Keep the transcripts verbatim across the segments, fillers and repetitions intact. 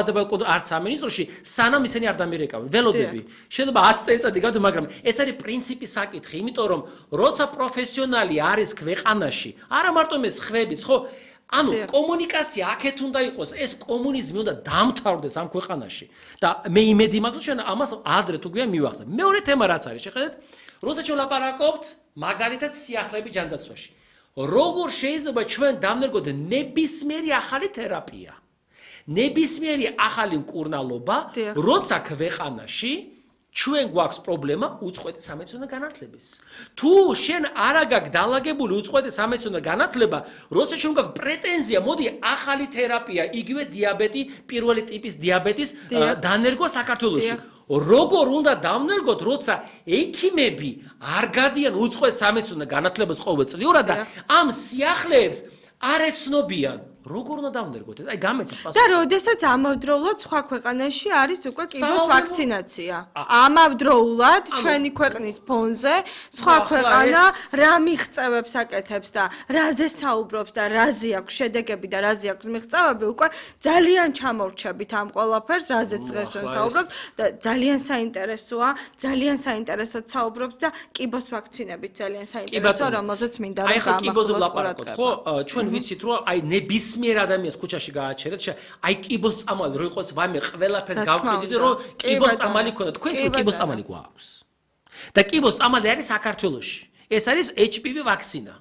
არც სამინისტროში სანამ ისინი არ დამირეკავენ ველოდები შეიძლება ას წელიწადი გავდო მაგრამ ეს არის პრინციპის საკითხი იმიტომ რომ როცა პროფესიონალი არის ქვეყანაში არა მარტო ეს ხვებით ხო ანუ კომუნიკაცია აქეთ უნდა იყოს ეს კომუნიზმი უნდა დამთავრდეს ამ ქვეყანაში და მე იმედი მაქვს ჩვენ ამას ადრე თუ გვიან მივახსენებ მეორე თემა რაც არის შეხედეთ როცა ჩვენ ვლაპარაკობთ მაგალითად სიახლეების ჯანდაცვაში როგორ შეიძლება ჩვენ დავნერგოთ ნებისმიერი ახალი თერაპია ნებისმიერი ახალი მკურნალობა როცა ქვეყანაში ჩვენ გვაქვს პრობლემა უწყვეტი სამედიცინო განათლების თუ შენ არ აგაქვს დალაგებული უწყვეტი სამედიცინო განათლება როცა ჩვენ გვაქვს პრეტენზია მოდი ახალი თერაპია იგივე დიაბეტი პირველი ტიპის დიაბეტის დანერგვა საქართველოში როგორ უნდა დავნერგოთ როცა ექიმები არ გადიან უწყვეტ სამედიცინო განათლებას ყოველწლიურად და ამ სიახლეებს არ ეცნობიან როგორ უნდა დავნერგოთ ეს? აი გამეცით პასუხი. და როდესაც ამავდროულად სხვა ქვეყანაში არის უკვე კიბოს ვაქცინაცია. ამავდროულად ჩვენი ქვეყნის ფონზე სხვა ქვეყანა რა მიღწევებს აკეთებს და რაზე საუბრობს და რაზე აქვს შედეგები და რაზე აქვს მიღწევები უკვე ძალიან ჩამორჩებით ამ ყველაფერს, რაზეც დღეს ჩვენ საუბრობთ და ძალიან საინტერესოა, ძალიან საინტერესოდ საუბრობთ და კიბოს ვაქცინებით ძალიან საინტერესოა, რომელზეც მინდა რომ გამახვილოთ. აი ხა კიბოზე ვლაპარაკობთ, ხო? ჩვენ ვიცით რომ აი ნების მერ ადამიანს ქუჩაში გააჩერეთ, აი კიბოს წამალი რო იყოს ვამე ყველაფერს გავყიდით რომ კიბოს წამალი ქონდა, თქვენს კიბოს წამალი გვაქვს. და კიბოს წამალი არის საქართველოში. ეს არის ეიჩ პი ვი ვაქცინა,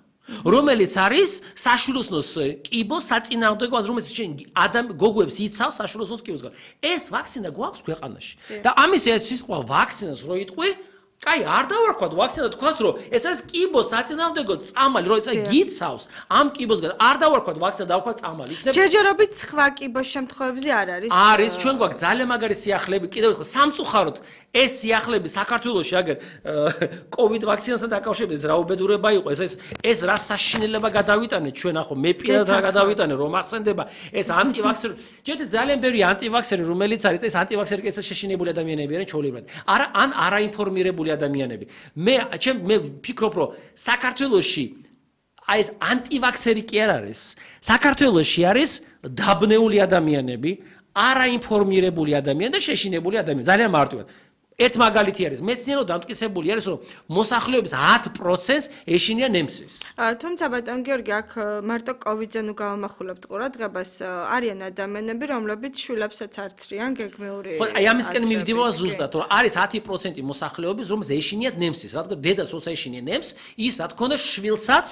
რომელიც არის საშვილოსნოს კიბოს საწინააღმდეგო, რომელიც შენ ადამ გოგოებს იცავს საშვილოსნოს კიბოს. ეს ვაქცინა გვაქვს ქვეყანაში. და ამის ეს სიტყვა ვაქცინას რო იტყვი კაი, არ დავარქვათ ვაქცინა თქვას რომ ეს არის კიბოს საწინააღმდეგო წამალი, რომ ეს გიცავს ამ კიბოსგან. არ დავარქვათ ვაქცინა, დავარქვათ წამალი. იქნება ჯერჯერობით სხვა კიბოს შემთხვევებში არ არის. არის, ჩვენ გვაქვს ძალიან მაგარი სიახლეები, კიდევ ერთხელ სამწუხაროდ ეს სიახლეები საქართველოში აგერ კოვიდ ვაქცინასთან დაკავშირებით რა უბედურება იყო. ეს ეს რა საშინელება გადავიტანეთ ჩვენ ახო მე პირადად რა გადავიტანე რომ ახსენდება ეს ანტივაქსერი. ჯერთ ძალიან ბევრი ანტივაქსერი რომელიც არის ეს ანტივაქსერი კეცად შეშინებული ადამიანები არიან ჩაოლებრად. არა ან არაინფორმირებული ადამიანები. მე ჩემ მე ფიქრობ რომ საქართველოში აი ეს ანტივაქსერი კი არ არის. საქართველოში არის დაბნეული ადამიანები, არაინფორმირებული ადამიანები და შეშინებული ადამიანები. ძალიან მარტივად. ერთ მაგალითი არის მეცნიერო დამტკიცებული არის რომ მოსახლეობის ათი პროცენტს ეშინია ნემსის. თუმცა ბატონ გიორგი აქ მარტო კოვიდზე ნუ გავამახვილებთ ყურადღებას არიან ადამიანები რომლებიც შვილებსაც არცრიან გეგმიური. ხო აი ამისკენ მივდივარ ზუსტად რომ არის ათი პროცენტი მოსახლეობის რომელსაც ეშინიათ ნემსის. რადგან დედას როცა ეშინია ნემს ის რა თქმა უნდა შვილსაც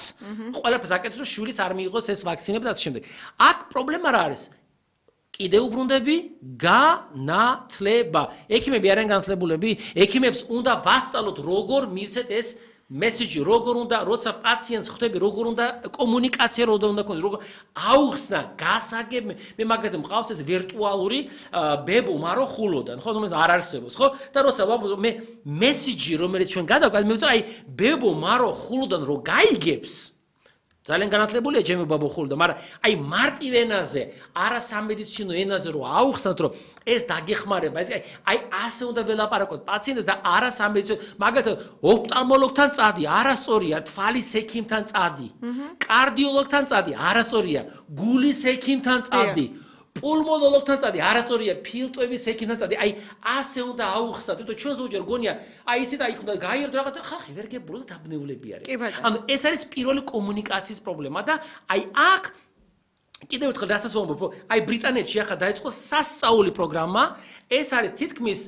ყველაფერს აკეთებს რომ შვილიც არ მიიღოს ეს ვაქცინები და ასე შემდეგ. აქ პრობლემა რა არის? კიდევ უბრუნდები განათლება. ექიმები არიან განათლებულები, ექიმებს უნდა ვასწავლოთ როგორ მივცეთ ეს მესიჯი, როგორ უნდა როცა პაციენტს ხვდები, როგორ უნდა კომუნიკაცია როგორ უნდა ქონდეს, როგორ აუხსნა, გასაგებ მე მაგათი მყავს ეს ვირტუალური ბებო, მარო ხულოდან, ხო, რომელიც არ არსებობს, ხო? და როცა მე მესიჯი რომელიც ჩვენ გადავკეთ, მე ვწა აი ბებო, მარო ხულოდან რო გაიგებს ძალიან განათლებულია ჯემი ბაბოხული და მაგრამ აი მარტივ ენაზე, არა სამედიცინო ენაზე რო აუხსნათ რომ ეს დაგეხმარება, ეს აი ასე უნდა ველაპარაკოთ პაციენტებს და არა სამედიცინო, მაგალითად ოფტალმოლოგთან წადი, არასწორია, თვალის ექიმთან წადი, კარდიოლოგთან წადი, არასწორია, გულის ექიმთან წადი. პულმონოლოგთან წადი, არასწორია, ფილტვების ექიმთან წადი. აი ასე უნდა აუხსნათ, იმიტომ ჩვენ ზოგჯერ გონია, აი იცით, აი უნდა გაიერთო რაღაცა, ხალხი ვერ გებულოს და დაბნეულები არიან. ანუ ეს არის პირველი კომუნიკაციის პრობლემა და აი აქ კიდევ ერთხელ რასაც ვამბობ, აი ბრიტანეთში ახლა დაიწყო სასწაული პროგრამა, ეს არის თითქმის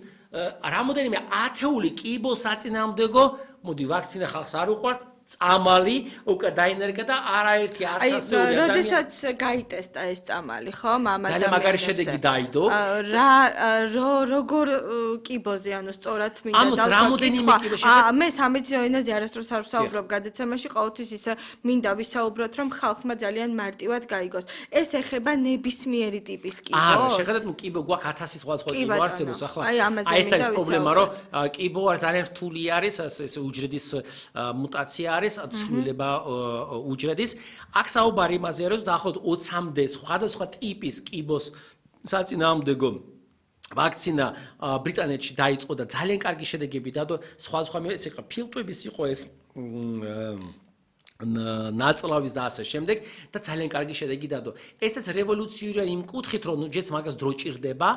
რამოდენიმე ათეული კიბოს საწინააღმდეგო, მოდი ვაქცინა ხალხს არ უყვართ. წამალი უკვე დაინერგა და არაერთი ათასეული ადამიანი. როდესაც გაიტესტა ეს წამალი, ხო, მამადა. ძალიან მაგარი შედეგი დაიდო. რა როგორ კიბოზე, ანუ სწორად მინდა ამას რამოდენიმე კიბო შედეგი. მე სამედიცინო ენაზე არასდროს არ ვსაუბრობ გადაცემაში, ყოველთვის ისე მინდა ვისაუბროთ, რომ ხალხმა ძალიან მარტივად გაიგოს. ეს ეხება ნებისმიერი ტიპის კიბოს. არა, შეხედეთ, ნუ კიბო გვაქვს ათასი სხვადასხვა კიბო არსებობს ახლა. აი ეს არის პრობლემა, რომ კიბო არ ძალიან რთული არის, ეს უჯრედის მუტაცია არის ცვლილება უჯრედის. აქ საუბარი იმაზე არის, რომ დაახლოებით ოცამდე სხვადასხვა ტიპის კიბოს საწინააღმდეგო ვაქცინა ბრიტანეთში დაიწყო და ძალიან კარგი შედეგები დადო. სხვადასხვა ეს იყო ფილტვების იყო ეს ნაწლავის და ასე შემდეგ და ძალიან კარგი შედეგი დადო. ეს ეს რევოლუციურია იმ კუთხით, რომ ნუ ჯეც მაგას დრო ჭირდება